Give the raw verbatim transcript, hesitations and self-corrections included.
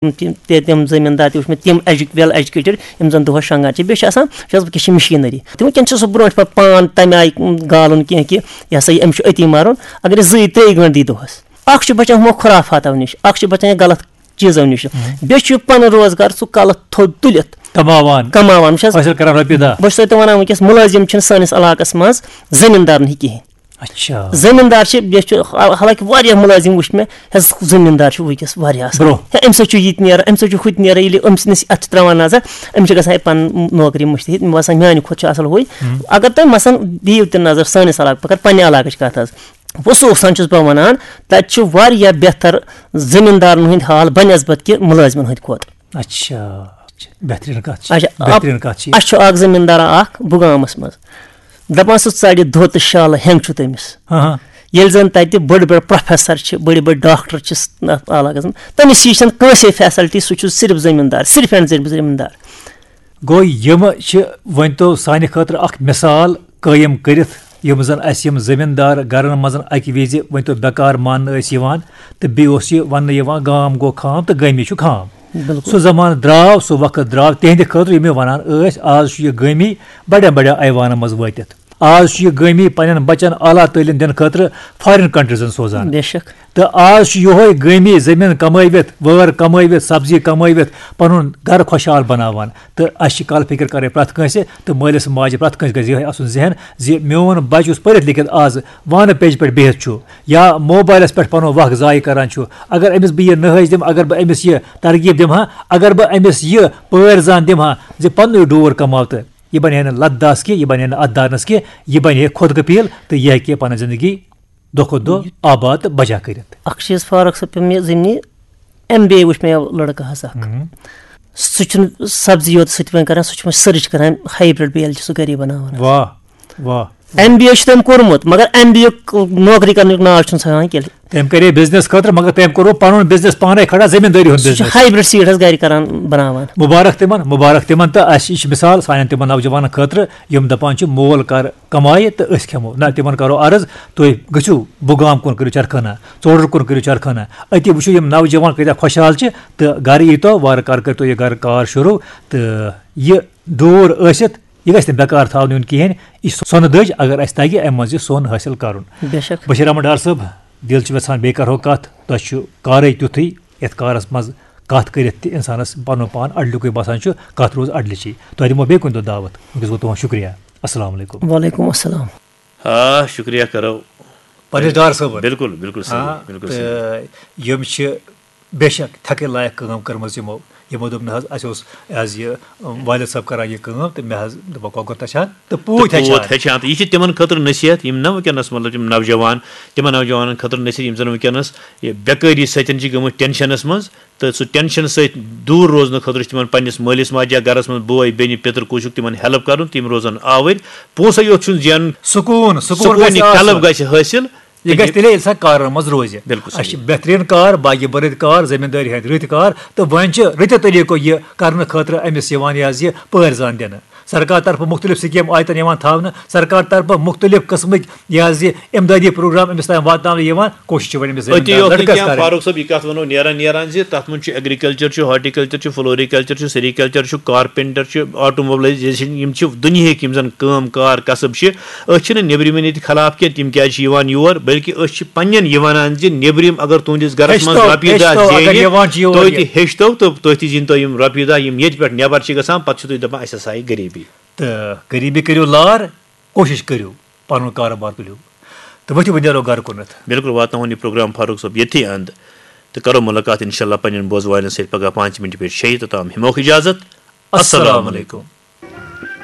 تِم تہِ تِم زٔمیٖندار تہِ وٕچھ مےٚ، تِم ایجو ویل ایجوکیٹڈ، یِم زَن دۄہَس شۄنٛگان چھِ۔ بیٚیہِ چھِ آسان، چھِ آسان وٕنکیٚس چھِ مِشیٖنٔری، تِم وٕنکیٚن چھِ سُہ برونٛٹھ پَتہٕ پان تَمہِ آیہِ گالُن کینٛہہ کہِ یہِ ہسا یہِ أمِس چھُ أتی مَرُن۔ اگر أسۍ زٕے ترٛیٚیہِ گٲنٛٹہٕ دی دۄہَس، اَکھ چھُ بَچان ہُمو خُرافاتو نِش، اَکھ چھُ بَچان یہِ غلط چیٖزو نِش، بیٚیہِ چھُ یہِ پَنُن روزگار سُہ کَلَس تھوٚد تُلِتھ کماوان۔ کماوان۔ وٕچھ حظ، حٲصِل کران رۄپیہِ دَہ۔ بہٕ چھُس تۄہہِ تہِ وَنان، وٕنکیٚس مُلٲزِم چھِنہٕ سٲنِس علاقَس منٛز زٔمیٖندار نہٕ کِہیٖنۍ۔ اچھا۔ زٔمیٖندار چھِ، بیٚیہِ چھُ حال-، حالانکہِ واریاہ مُلٲزِم وٕچھ مےٚ، حظ، زٔمیٖندار چھُ وٕنکیٚس واریاہ اَصٕل۔ برٛونٛہہ۔ ہے، أمِس حظ چھُ یہِ تہِ نیران، أمِس حظ چھُ ہُہ تہِ نیران، ییٚلہِ أمۍ سٕنٛدِس اَتھٕ چھِ ترٛاوان نظر، أمِس چھِ گژھان ہے پَنٕنۍ نوکری مٔشتٕے۔ مےٚ باسان، میٛانہِ کھۄتہٕ چھُ اَصٕل ہُے۔ ہُم۔ اگر تُہۍ مثلاً دِیِو تہِ نظر سٲنِس علاقہٕ، بہٕ کَرٕ پنٛنہِ علاقٕچ کَتھ حظ، وسوخ سان چھُس بہٕ وَنان، تَتہِ چھُ واریاہ بہتر زٔمیٖندارَن ہُنٛد حال بنسبت کہِ مُلٲزمَن ہٕنٛدِ کھۄتہٕ۔ اچھا، اچھا، بہتریٖن کَتھ چھِ، اچھا، بہتریٖن کَتھ چھِ یہِ۔ اَسہِ چھُ اَکھ زٔمیٖندارا اَکھ بُگامَس منٛز، دَپان سُہ ژَرِ دھوتہٕ شالہٕ ہٮ۪نٛگ چھُ تٔمِس۔ ہاں، ہاں۔ ییٚلہِ زَن تَتہِ بٔڑۍ بٔڑۍ پروفیسر چھِ، بٔڑۍ بٔڑۍ ڈاکٹر چھِ س-، اَتھ علاقَس منٛز، تٔمِس ہِش چھَنہٕ کٲنٛسے فیسلٹی، سُہ چھُ صرف زٔمیٖندار، صرف اینڈ صرف زٔمیٖندار۔ گوٚو یِم چھِ، ؤنۍ تو، سانہِ خٲطرٕ اَکھ مثال قٲیِم کٔرِتھ، یِم زَن اَسہِ یِم زٔمیٖندار گَرَن منٛز اَکہِ وِزِ، ؤنۍ تو، بیکار ماننہٕ ٲسۍ یِوان، تہٕ بیٚیہِ اوس یہِ وَننہٕ یِوان، "گام گوٚو خام تہٕ گٲمی چھُ خام۔" بِلکُل۔ سُہ زمانہٕ درٛاو، سُہ وقت درٛاو تِہنٛدِ خٲطرٕ، یِم مےٚ وَنان ٲسۍ، آز چھُ یہِ گٲمی بڑٮ۪ن بڑٮ۪ن ایوانن منٛز وٲتِتھ۔ آز چھُ یہِ گٲمی پننٮ۪ن بچن اعلیٰ تعلیٖم دِنہٕ خٲطرٕ فارین کنٹریزن سوزان۔ بے شک۔ تہٕ آز چھُ یِہوے گٲمی زٔمیٖن کمٲوِتھ، وٲر کمٲوِتھ، سبزی کمٲوِتھ پنُن گرٕ خۄشحال بناوان۔ تہٕ اَسہِ چھِ کلہٕ فِکر کرٕنۍ پرٛٮ۪تھ کٲنٛسہِ، تہٕ مٲلِس ماجہِ پرٛٮ۪تھ کٲنٛسہِ گژھِ یِہوٚے آسُن ذہن زِ میون بچہِ یُس پٔرِتھ لیکھِتھ آز وانہٕ پیٚجہِ پٮ۪ٹھ بِہِتھ چھُ یا موبایلس پٮ۪ٹھ پنُن وقت ضایع کران چھُ، اگر أمِس بہٕ یہِ نٔہج دِمہٕ، اگر بہٕ أمِس یہِ ترغیب دِمہٕ ہا، اگر بہٕ أمِس یہِ پٲرۍ زان دِمہٕ ہا زِ پننُے ڈوٗر کماو، تہٕ یہِ بنہِ ہے نہٕ لتھ داس کینٛہہ، یہِ بنہِ ہے نہٕ اتھ دانس کینٛہہ، یہِ بنہِ ہے خۄد کفیٖل، تہٕ یہِ ہیٚکہِ پنٕنۍ زندگی دۄہ کھۄتہٕ دۄہ آباد تہٕ بجا کٔرِتھ۔ اکھ چیٖز فاروق صٲب، پیوٚم یہِ زِ مےٚ ایم بی اے وٕچھ مےٚ لڑکہٕ حظ اکھ۔ ہم۔ سُہ چھُنہٕ سبزی یوت سۭتۍ وۄنۍ کران، سُہ چھُ وۄنۍ سٔرٕچ کران، ہایبرڈ بیل چھُ سُہ گرے بناوان۔ واہ، واہ۔ ایم بی اے چھُ تٔمۍ کوٚرمُت، مگر ایم بی اے نوکری کرنُک ناو چھُنہٕ سُہ ہٮ۪وان کینٛہہ۔ تٔمۍ کرے بزنس خٲطرٕ، مگر تٔمۍ کوٚر پنُن بزنس پانے کھڑا، زٔمیٖندٲری ہُنٛد سُہ چھُ بزنس۔ ہایبرڈ سیٖڈ حظ گرِ کران بناوان۔ مُبارک تِمن، مُبارک تِمن، تہٕ اَسہِ، یہِ چھِ مثال سانٮ۪ن تِمن نوجوانن خٲطرٕ، یِم دپان چھِ، "مول کر کمایہِ تہٕ أسۍ کھٮ۪مو۔" نہ، تِمن کرو عرض، تُہۍ گٔژھِو بُگام کُن، کٔرِو چرخانہ، ژوڈر کُن کٔرِو چرخانہ، أتی وٕچھِو یِم نوجوان کۭتیاہ خۄشحال چھِ تہٕ گرٕ ییٖتو، وارٕ کارٕ کٔرۍتو یہِ گرٕ کار شروٗع، تہٕ یہِ ڈوٗر ٲسِتھ، یہِ گژھِ نہٕ بیکار تھاونہٕ یُن کِہیٖنۍ۔ یہِ چھِ سۄنہٕ دٔج، اگر اَسہِ تَگہِ اَمہِ منٛز یہِ سۄن حٲصِل کَرُن۔ بے شک۔ بشیٖر احمد ڈار صٲب، دِل چھُ یژھان بیٚیہِ کَرہو کَتھ، تۄہہِ چھُ کارٕے تیُتھُے، یَتھ کارَس منٛز کَتھ کٔرِتھ تہِ اِنسانَس پَنُن پان اَڈلیُکُے باسان چھُ، کَتھ روٗز اَڈلِچی۔ تۄہہِ دِمو بیٚیہِ کُنہِ دۄہ دعوت، وٕنکیٚس گوٚو تُہُنٛد شُکریہ۔ السلام علیکم۔ وعلیکم السلام۔ آ، شُکریہ کَرو۔ پننِس ڈار صٲبَن۔ بِلکُل، بِلکُل صحیح، آ، بِلکُل صحیح۔ تہٕ یِم چھِ بے شک تھکٕنۍ لایق کٲم کٔرمٕژ یِمو۔ یِمو دوٚپ، "نہ حظ، اَسہِ اوس، یہِ حظ یہِ، اَم، والد صٲب کران یہِ کٲم، تہٕ مےٚ حظ دوٚپ، کۄکُر تہِ چھان تہٕ پوٗتۍ تہٕ پوٗت ہیٚچھان۔" ہیٚچھان۔ تہٕ یہِ چھِ تِمن خٲطرٕ نصیحت، یِم نہ وٕنکیٚنس، مطلب، یِم نوجوان، تِمن نوجوانن خٲطرٕ نصیحت، یِم زن وٕنکیٚنس یہِ بیکٲری سۭتۍ چھِ گٔمٕتۍ ٹینشنس منٛز، تہٕ سُہ ٹینشن سۭتۍ دوٗر روزنہٕ خٲطرٕ چھِ تِمن پننِس مٲلِس ماجہِ یا گرس منٛز بوے، بیٚنہِ، پیٚتٕر، کُس چھُکھ، تِمن ہیلپ کرُن، تِم روزن آوٕرۍ۔ پونٛسے یوت چھُنہٕ زینُن، سکوٗن، سکوٗن سکوٗن گژھِ یہِ قلب آسُن۔ گژھِ حٲصِل۔ یہِ گژھِ تیٚلے ییٚلہِ سا کارن منٛز روزِ۔ بِلکُل اَسہِ چھِ صحیح۔ بہتریٖن کار، باقی بٔرٕتۍ کار، زٔمیٖندٲری ہٕنٛدۍ رٕتۍ کار، تہٕ وۄنۍ چھِ رٕتہِ طٔریٖقو یہِ کرنہٕ خٲطرٕ أمِس یِوان یہِ حظ یہِ پٲرۍ زان دِنہٕ۔ سرکار طرفہٕ مُختٔلِف سکیٖم آیتن یِوان تھاونہٕ، سرکار طرفہٕ مُختٔلِف قٕسمٕکۍ یہِ حظ یہِ اِمدٲدی پروگرام أمِس تام واتناونہٕ یِوان۔ کوٗشِش چھِ وۄنۍ أمِس أتی زٔمیٖندار یوت نہٕ لٔڑکَس کینٛہہ، کَرٕنۍ۔ فاروق صٲب، یہِ کَتھ وَنو نیران نیران زِ تَتھ منٛز چھُ ایگریکلچر چھُ، ہارٹیکلچر چھُ، فلوریکلچر چھُ، سیریکلچر چھُ، کارپینٹر چھُ، آٹوموبلائزیشن، یِم چھِ دُنیہٕکۍ یِم زَن کٲم کار کسب چھِ۔ أسۍ چھِنہٕ نیٚبرِمٮ۪ن ییٚتہِ خلاف کینٛہہ، تِم کیٛازِ چھِ یِوان یور، بلکہِ أسۍ چھِ پنٛنٮ۪ن یہِ وَنان زِ نیٚبرِم اگر تُہٕنٛدِس گَرَس منٛز ہیٚچھتو، رۄپیہِ دَہ ہیٚچھتو، اگر زینہِ، یِوان چھِ یور تُہۍ یہِ۔ تہِ ہیٚچھتو تہٕ تُہۍ تہِ زیٖنتو یِم رۄپیہِ دَہ، یِم ییٚتہِ پٮ۪ٹھ نٮ۪بَر چھِ گژھان، پَتہٕ چھِو تُہۍ دَپان، "اَسہِ ہسا آیہِ غریٖبی۔" تہٕ غریٖبی کٔرِو لار، کوٗشِش کٔرِو، پَنُن کارٕبار تُلِو تہٕ ؤتھِو، وۄنۍ نیرو گَرٕ کُنَتھ۔ بِلکُل، واتناوون یہِ پروگرام فاروق صٲب ییٚتھی اَنٛد تہٕ کَرو مُلاقات اِنشاءاللہ پنٛنٮ۪ن بوزوالٮ۪ن سۭتۍ پگاہ پانٛژِ مِنٹہِ پٮ۪ٹھ شیٚیہِ، توٚتام ہٮ۪موکھ اِجازت۔ السلام السلام علیکم۔ علیکم۔